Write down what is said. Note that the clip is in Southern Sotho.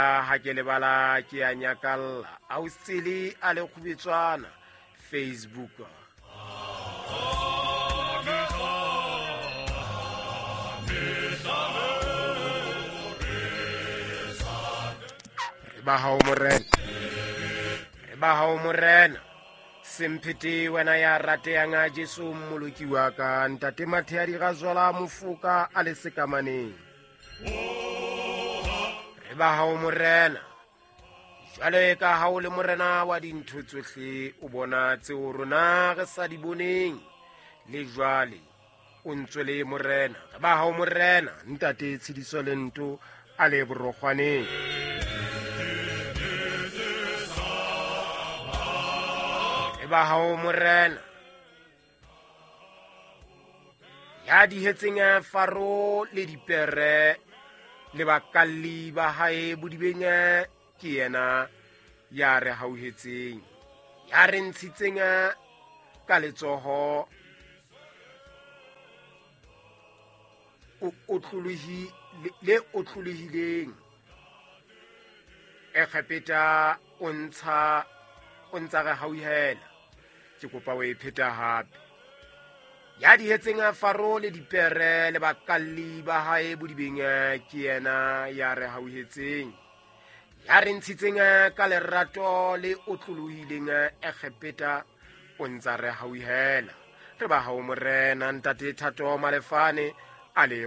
Ha ke lebala ke a nyakalla. Ausele a le kgubetswana Facebook. Re ba hao morena, re ba hao morena. Semphete wena ya rateyang a Jesu mmoloki wa ka. Ntate Mathea di gazwala mofoka a le sekamaneng. Re ba hao morena. Jwale ka ha o le morena wa dintho tsohle, o bona tseo rona re sa di boneng. Le jwale o ntse le morena. Re ba hao morena. Ntate Tshidiso le Nto a le borokgwaneng. Re ba hao morena. Ya dihetseng Faro le dipere le bakalli ba hae bodibeng, ke yena ya re hauhetseng, ya re ntshitseng ka letsoho le otlolohileng. Egepeta o ntsa re hauhela. Ke kopa o e pheta hape. Ya dihetseng Faro le dipere le bakalli ba hae bodibeng, ke yena ya re hauhetseng, ya re ntshitseng ka lerato le otlolohileng Egepeta o ntsa re hauhela. Re ba hao morena. Ntate Thato Malefane a le